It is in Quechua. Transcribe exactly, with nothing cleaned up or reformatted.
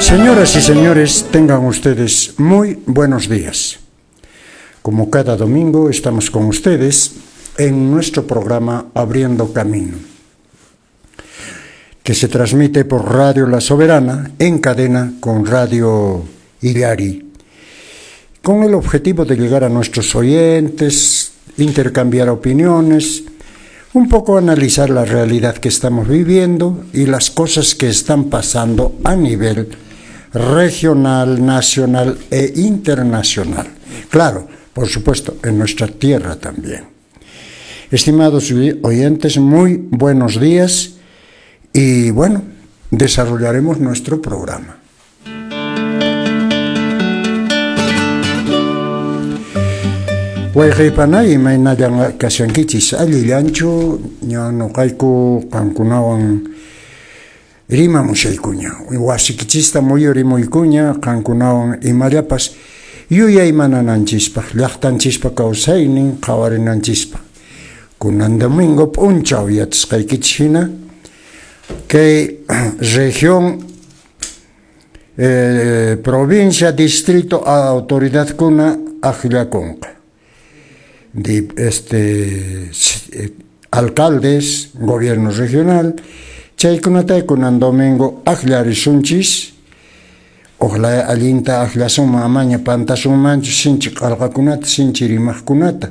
Señoras y señores, tengan ustedes muy buenos días. Como cada domingo estamos con ustedes en nuestro programa Abriendo Camino, que se transmite por Radio La Soberana en cadena con Radio Illari, con el objetivo de llegar a nuestros oyentes, intercambiar opiniones, un poco analizar la realidad que estamos viviendo y las cosas que están pasando a nivel regional, nacional e internacional. Claro, por supuesto, en nuestra tierra también. Estimados oyentes, muy buenos días y bueno, desarrollaremos nuestro programa. Wayqaypanay imaynallan kashankichis allillanchu ña nuqayku qankunawan rimamushaykuña wasikichista muyurimuykuña qankunawan imallapas yuyaymanananchispaq llaqtanchispa kawsaynin qhawarinanchispaq kunan domingo p'unchaw yachasqaykichis hina kay región eh, provincia distrito autoridadkuna akllakunqa de este alcaldes, gobierno regional, chaykunata kunan domingo akllarisunchis, ojalá allinta akllasunman amaña pantasunmanchu sinchi q'alqakunata, sinchi rimaqkunata.